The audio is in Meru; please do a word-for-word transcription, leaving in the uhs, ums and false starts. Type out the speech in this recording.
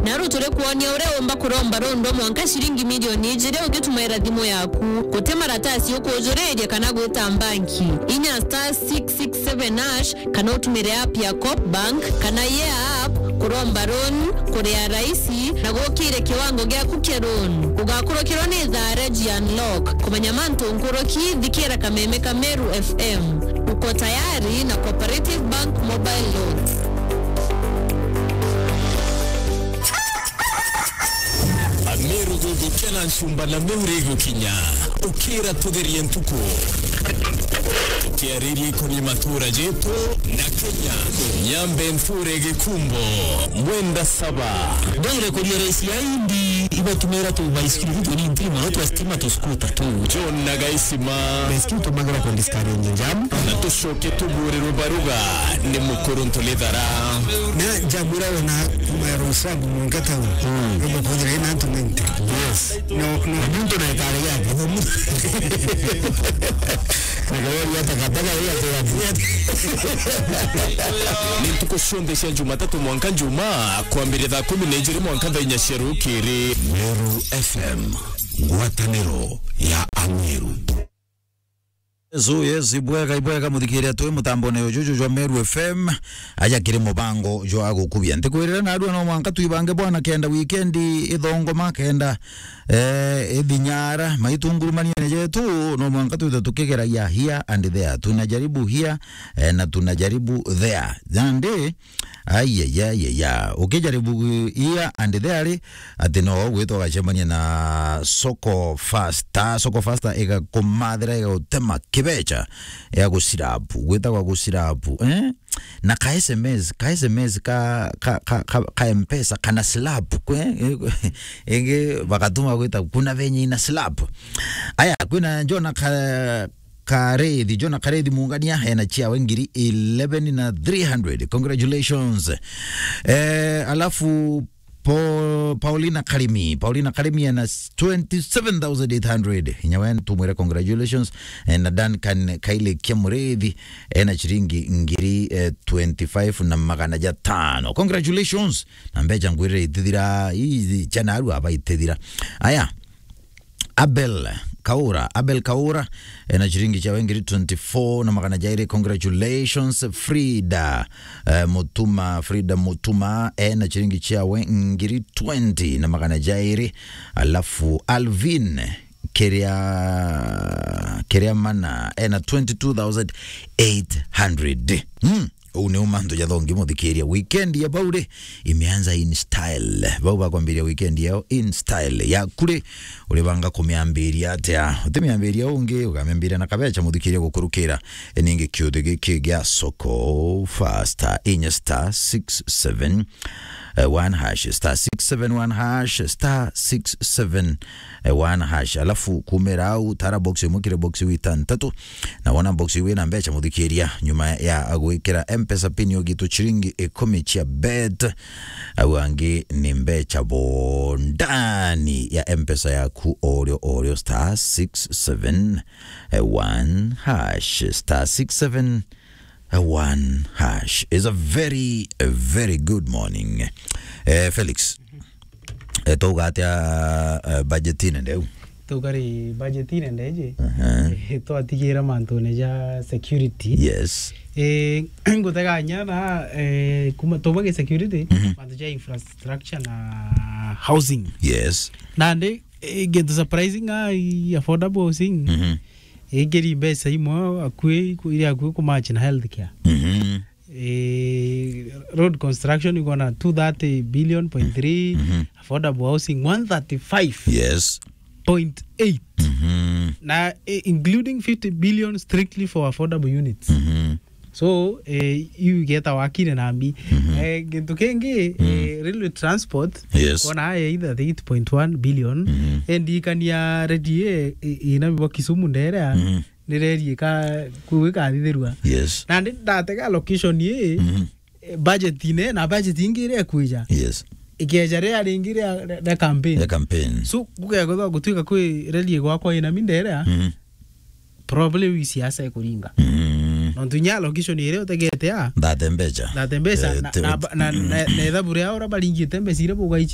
Naru turi kwonia uria umba kuromba rundo mwanka ciringi milioni ijiri ugitumaira thimu yaku. Guti maratasi ukujuriria kana gwita mbanki. Inya star six six seven hash kana utumire app ya Coop Bank kana Yeah app kuromba loan, kuria raisi na gukire kiwango giaku kia loan. Ugakurukirwa ni thaa Regi Unlock. Kumenya mantu nkuruki, thikira kameme ka Meru F M. Uko tayari na Cooperative Bank Mobile Loans. Ameru gugukia na ncumba na miuri igukinya. Ukira tugerie ntuku. Tukiariria ikoni matura jetu na Kenya. Nyambe nture gikumbo. Mwenda saba. Ndwire kuria raisi ya indi ibatumira tu baisikiri tu ni ntiri mono twa stima tu scooter tu. John na Gaisima. Baisikiri tumagira kwa discourage jam. Na tucoke tugurirwe baruga ni mukuru ntulithara. Na njamwira wona kuma ya Roysambu mwanka town. Mm. Roma kuthira ina antu ninety. Yes. No, no. Muntu na itare yake. Nikaweria takataka ya. Ni ntuku cionthe cia Jumatatu mwanka Njumaa, kwambiria thaa kumi na ijiri mwanka thaa inya cia rukiri. Meru F M, ngwataniro ya Ameru. Yesu, yes, ibwega, ibwega, muthikiria twi mutambone ujuju jwa Meru F M, aja kiri mubango jwa gukubia. Ntikwirira narua no mwanka twibange bwana kenda weekend ithongoma kenda, eh, ithinyara, maitungurumaniene jetu, no mwanka twithe tukigeragia here and there. Tunajaribu here, eh, na tunajaribu there. Nandi, ai, ai, ai, ai, ai. Ukijaribu here and there ri, ati no gwitwa ugacemania na Soko Faster. Soko Faster igakumathira, igagutema kibecha ya gucirapu. Gwitagwa gucirapu, eh? Na ka S M S, ka S M S ka, ka, ka, ka, ka M-Pesa, kana slap, kwe, ingi bagatuma gwita, kuna venye ina slap. Aya, kwina Jona ka, Karethi, Jona Karethi Mungania, ena chiawe ngiri eleven na three hundred. Congratulations. Eh, alafu Po-, Paulina Karimi, Paulina Karimi ena s-, twenty-seven thousand eight hundred. Inya we tumwire congratulations. Eh, na Duncan Kaile Kia Mureithi, ena chiringi ngiri, eh, twenty-five na magana jatano. Congratulations. Na mbecha ngwirire itithira, ii, chana aru aba itithira. Aya. Abel Kaura, Abel Kaura, ena chiringi chiawe ngiri twenty-four na magana jairi. Congratulations, Frida, eh, Mutuma, Frida Mutuma, ena chiringi chiawe ngiri twenty na magana jairi. Alafu Alvin Keria, Keria Mana, ena twenty-two thousand eight hundred. Hmm. Uu niu mantu jathongi muthikiria. Weekend ya bau ri, imeanza in style. Bau bakwambiria weekend yao in style. Yaku ri, uribanga kumiambiria atia? Utimiambiria ungi, ugamiambiria na kabecha muthikiria gukurukira. E, ningi kiuthi giki gia Soko Faster, inya star six seven one hash, star six seven one hash, star six seven one hash. Alafu kumira au, tara box imwe kiri box iu itantatu. Na wona box iu ina mbecha muthikiria, nyuma ya gwikira M-Pesa pin ugitu chiringi ikumi chia bet, au angi ni mbecha bo ndani ya M-Pesa yaku orio orio, star six seven one hash, star six seven one hash. Is a very, a very good morning. Eh, Felix, eh, twauga atia, eh, budget ine ndeu? Twauga ri budget ine ndeji, aha, eh, twatigira mantune ja security. Yes. Eh, nguteganya na, eh, kuma tubage security, mhm, mantu ja infrastructure na housing. Yes. Nandi, eh, gintu surprising, ah, i affordable housing. Mhm. Ingiri mbeca imwe akui, iria akui kumatch na healthcare. Mhm. Eh, road construction iko na two thirty billion point three, mhm, affordable housing one thirty-five, yes, point eight. Mhm. Na, eh, including fifty billion strictly for affordable units. Mhm. So, eh, iu igeta wakire na mbi. Mhm. Eh, gintu kingi, mm, eh, railway transport, yes, kona aya either eight point one billion, mhm, endikania redi, eh, i-, ina bibo Kisumu ndere, mhm, ni reri ika-, kuu ikathithirua. Yes. Na ndi ndatega location ii, mhm, eh, budget ine, na budget ingi iria ikwija. Yes. Ikeja ria ringi ria, ria campaign. Ya campaign. So, gukethwa gutuika kwi reri igwakwa ina mindere, mhm, probably wi siasa ikuringa. Mhm. Nontu inya location iria utegete a, ndate mbecha. Ndate mbecha, eh, na, te-, na, na, na, na ithabu ria uria baringite mbecha iria bugaichi